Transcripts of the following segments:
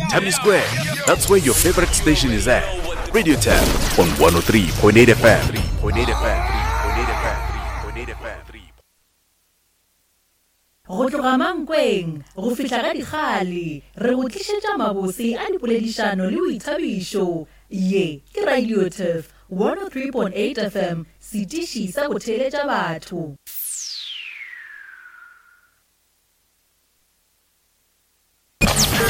Tammy Square. That's where your favorite station is at. Radio Tab on 103.8 FM. 3.8 FM. 3.8 FM. 3.8 FM. Go tloga Mankweng go fihla ga Dikgale, re go tlišetša mabose a dipoledišano le boithabišo. Ye ke Radio Turf 103.8 FM, setiši sa go theeletša batho.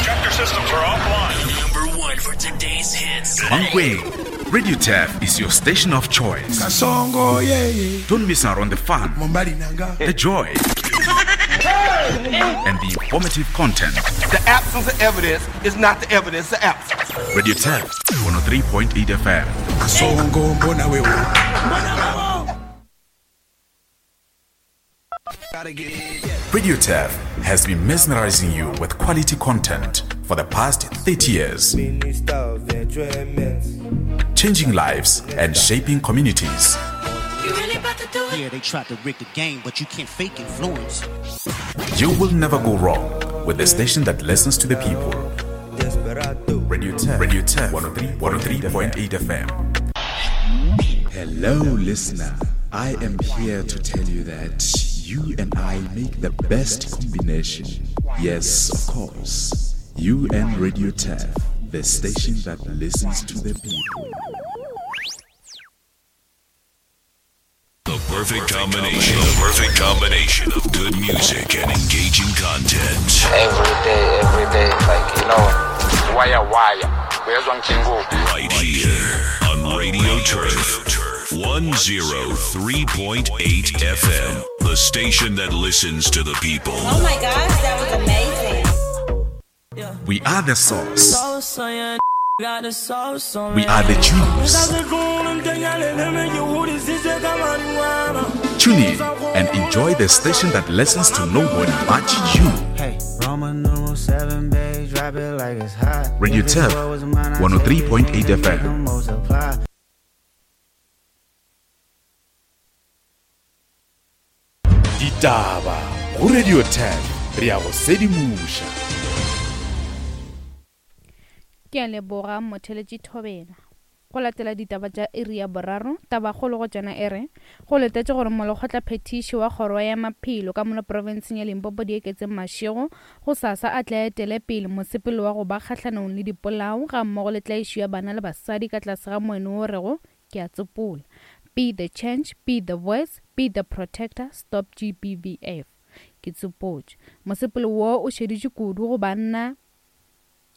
Check your systems are offline. Number one for today's hits. Mankweng, Radio Turf is your station of choice. Kasongo, yeah, yeah. Don't miss out on the fun, Mombali nanga. the joy, and the informative content. The absence of evidence is not the evidence of absence. Radio Turf 103.8 FM. Kasongo, mbona wewe. Radio Turf has been mesmerizing you with quality content for the past 30 years, changing lives and shaping communities. Yeah, they tried to rig the game, but you can't fake influence. You will never go wrong with the station that listens to the people. Radio Turf, Radio Turf 103.8 FM. Hello, listener. I am here to tell you that you and I make the best combination. Yes, of course. You and Radio Turf, the station that listens to the people. The perfect combination. The perfect combination of good music and engaging content. Every day, every day, like, you know, wire wire. Uyezwa ngithini Right here on Radio Turf 103.8 FM, the station that listens to the people. Oh my gosh, that was amazing. We are the source. We are the juice. Tune in and enjoy the station that listens to nobody but you. Hey, Roman numeral 7, babe, drop it like it's hot. Radio If it Turf, was mine, I take it, 103.8 make FM. 'em multiply. Ditaba go Radio Turf re a go sedimoša. Ke a leboga motheletši Thobela. Go latela ditaba tša iri ya boraro, tabakgolo go tšona e re, go letetše gore molekgotla phethiši wa kgoro ya maphelo ka mono profenseng ya Limpopo Dieketseng Mashego go sasa a tle a etele pele mosepelo wa go ba kgahlanong le dipolao ga mmogo le tlaišo ya bana le basadi ka tlase ga moeno o rego ke a tsopola Be the change, be the voice, be the protector, stop GBVF. Ke tsopotše. Mosepelo wo o šeditše kudu go banna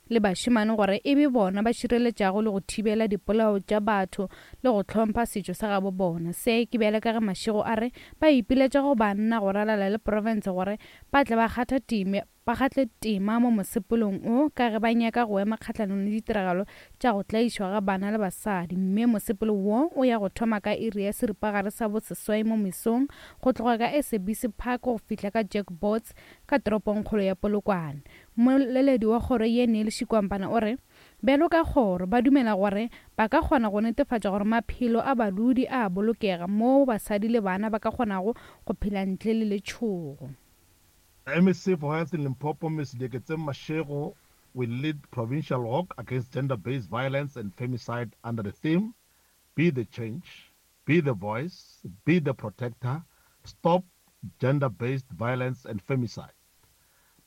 le bašemane gore e be bona ba šireletšago le go thibela dipolao tša batho le go hlompha setšo sa gabo bona. Se ke bjale ka ge Mashego a re ba ipiletša go banna go ralala le profense gore ba tle ba kgatha tema ba kgatle tema mo mosepelong o ka ge ba nyaka go ema kgahlanong le ditiragalo tša go tlaišwa ga bana le basadi mme mosepelo wo o ya go thoma ka iri ya seripagare sa boseswai mo mesong go tloga ka SABC Park go fihla ka Jack Bots ka toropongkgolo ya Polokwane. Mmoleledi wa kgoro ye Neil Shikwampana o re bjalo ka kgoro ba dumela gore ba ka kgona go netefatša gore maphelo a badudi a a bolokega moo basadi le bana ba ka kgonago go phela ntle le letšhogo. The MEC for Health in Limpopo, Ms. Lieketseng Mashego, will lead provincial walk against gender-based violence and femicide under the theme, Be the Change, Be the Voice, Be the Protector, Stop Gender-Based Violence and Femicide.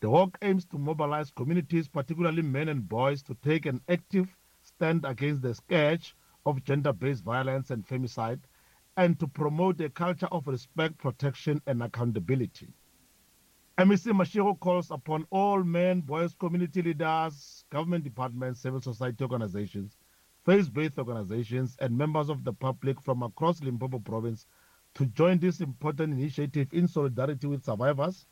The walk aims to mobilize communities, particularly men and boys, to take an active stand against the scourge of gender-based violence and femicide and to promote a culture of respect, protection, and accountability. MEC Mashego calls upon all men, boys, community leaders, government departments, civil society organizations, faith-based organizations, and members of the public from across Limpopo province to join this important initiative in solidarity with survivors.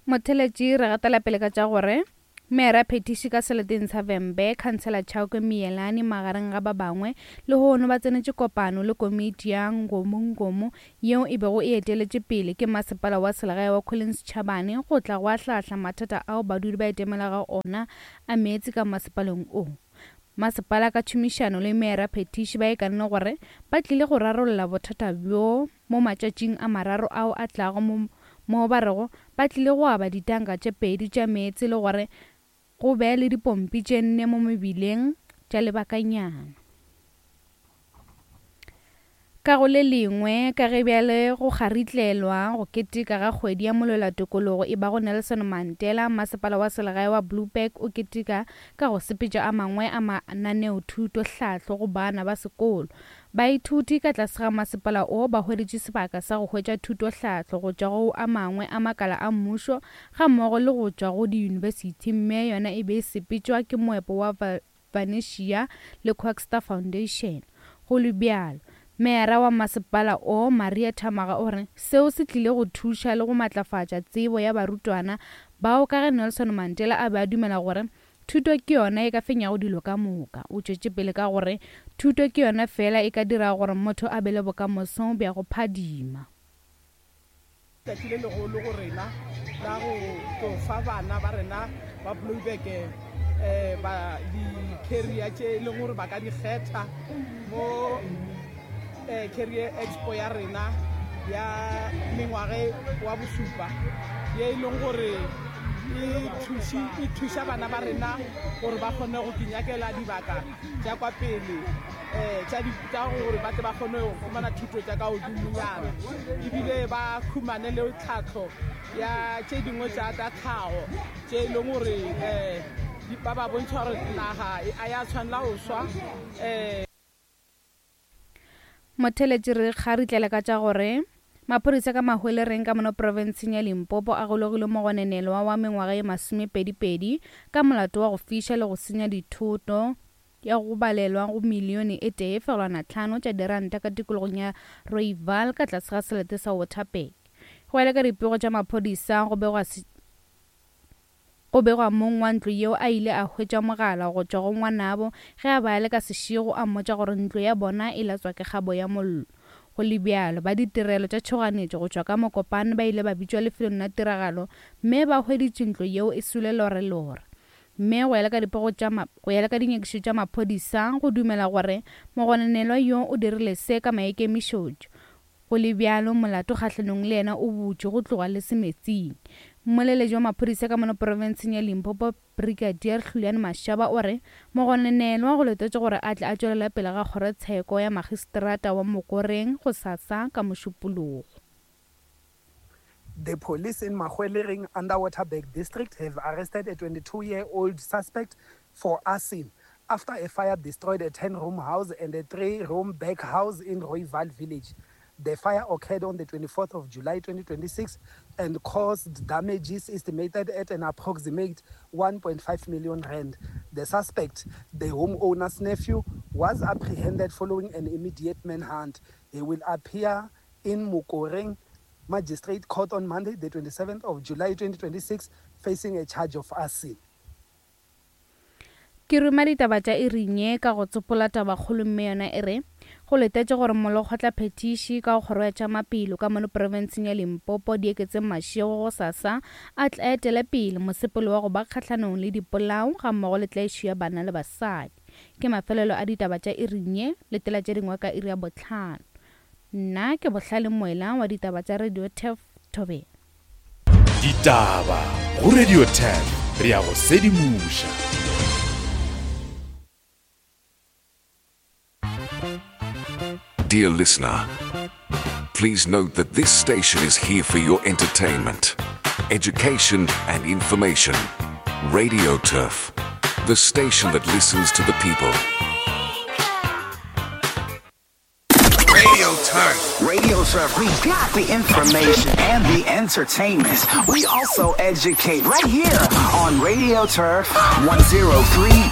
Motheletši re gatela pele ka tša gore Meyara phethiši ka seleteng sa Vhembe, Khansela Chauke Miyelani magareng ga ba bangwe, lehono ba tsenetše kopano le komiti ya Ngomongomo yeo e bego e eteletše pele ke masepala wa selegae wa Collins Chabane go tla go ahlaahla mathata ao badudi ba itemelago ona a meetse ka masepaleng o. Masepala ka tšhomišano le meyara phethiši ba ikanne gore ba tlile go rarolla bothata bjo mo matšatšing a mararo ao a tlago mo moo ba rego ba tlile go aba ditanka tše pedi tša meetse le gore Go be le dipompi tše nne mo mebileng tša lebakanyana. Ka go le lengwe, ka ge bjale go kgaritlelwa go keteka ga kgwedi ya molwelatokologo e bago Nelson Mandela, Masepala wa Selegae wa Blouberg o keteka ka go sepetša a mangwe a mananeothutohlahlo go bana ba sekolo. Baithuti ka tlase ga masepala o ba hweditše sebaka sa go hwetša thutohlahlo go tšwa go a mangwe a makala a mmušo gammogo le go tšwa go diyunibesithi mme yona e be e sepetšwa ke moepo wa Venetia le Quackster Foundation. Go le bjalo, meyara wa masepala o, Maria Thamaga o re seo se tlile go thuša le go matlafatša tsebo ya barutwana bao ka ge Nelson Mandela a be a dumela gore thuto ke yona e ka fenyago dilo ka moka. O tšwetše pele ka gore thuto ke yona feela e ka dirago gore motho a be le bokamoso bja go phadima. Tšatši le legolo go rena la go tlo fa bana ba rena ba Blouberg ba di-carrier tše e leng gore ba ka di kgetha mo Carrier Expo ya rena ya mengwage wa bosupa ye e leng gore e thuša bana ba rena gore ba kgone go kinyakela dibaka tša kwa pele um tša gore ba tle ba kgone go humana thuto tša ka godimonyana ebile ba humane le tlhahlo ya tše dingwe tša tša tlhago tše e leng gore um ba ba bontšha gore naga a ya tshwanela go swa um. Motheletši re kgaritlele ka tša gore maphodisa ka Mahwelereng ka mono profenseng ya Limpopo a golegile mogonenelwa wa mengwaga ye masomepedipedi ka molato wa go fiša le go senya dithoto ya go balelwa go milione e tee fegelwana tlhano tša diranta ka tikologong ya Rooiwal ka tlase ga selete sa Waterberg. Go ya le ka dipego tša maphodisa, go begwa go begwa mong wa ntlo yeo a ile a hwetša mogala go tšwa go ngwanabo ge a be a le ka sešego a mmotša gore ntlo ya bona e latswa ke kgabo ya mollo. Go le bjalo, ba ditirelo tša tšhoganetšo go tšwa ka Mokopane ba ile ba bitšwa lefelong la tiragalo mme ba hweditše ntlo yeo e swele lorelore. Mme go ya le ka dipego tša go ya le ka dinyakišišo tša maphodisa, go dumela gore mogononelwa yo o dirile se ka maikemišetšo. Go le bjalo, molato kgahlanong le yena o butšwe go tloga le semetsing. Mmoleledi wa maphodisa ka mono profenseng ya Limpopo, Brigadier Hlulani Mashaba o re mogononelwa go letetšwe gore a tle a tšwelele pele ga kgorotsheko ya magistrata wa Mokoreng gosasa ka Mošupologo. The police in Mahwelereng under Waterberg district have arrested a 22-year-old suspect for arson after a fire destroyed a 10-room house and a 3-room back house in Royval village. The fire occurred on the 24th of July 2026 and caused damages estimated at an approximate 1.5 million rand. The suspect, the homeowner's nephew, was apprehended following an immediate manhunt. He will appear in Mokoreng Magistrate Court on Monday, the 27th of July 2026, facing a charge of arson. Ke ruma ditaba tša iring ye ka go tsopola tabakgolo mme yona e re, Go letetše gore Molekgotlaphethiši ka go Kgoro ya tša Maphelo ka mono profenseng ya Limpopo Dieketseng Mashego gosasa a tle a etele pele mosepelo wa go ba kgahlanong le dipolao gammogo le tlaišo ya bana le basadi. Ke mafelelo a ditaba tša iring ye, letela tše dingwe ka iri ya bohlano. Nna ke Bohlale Moela wa ditaba tša Radio Turf Thobela. Ditaba go Radio Turf re a go sedimoša. Dear listener, please note that this station is here for your entertainment, education, and information. Radio Turf, the station that listens to the people. Radio Turf. Radio Turf, we got the information and the entertainment. We also educate right here on Radio Turf 103.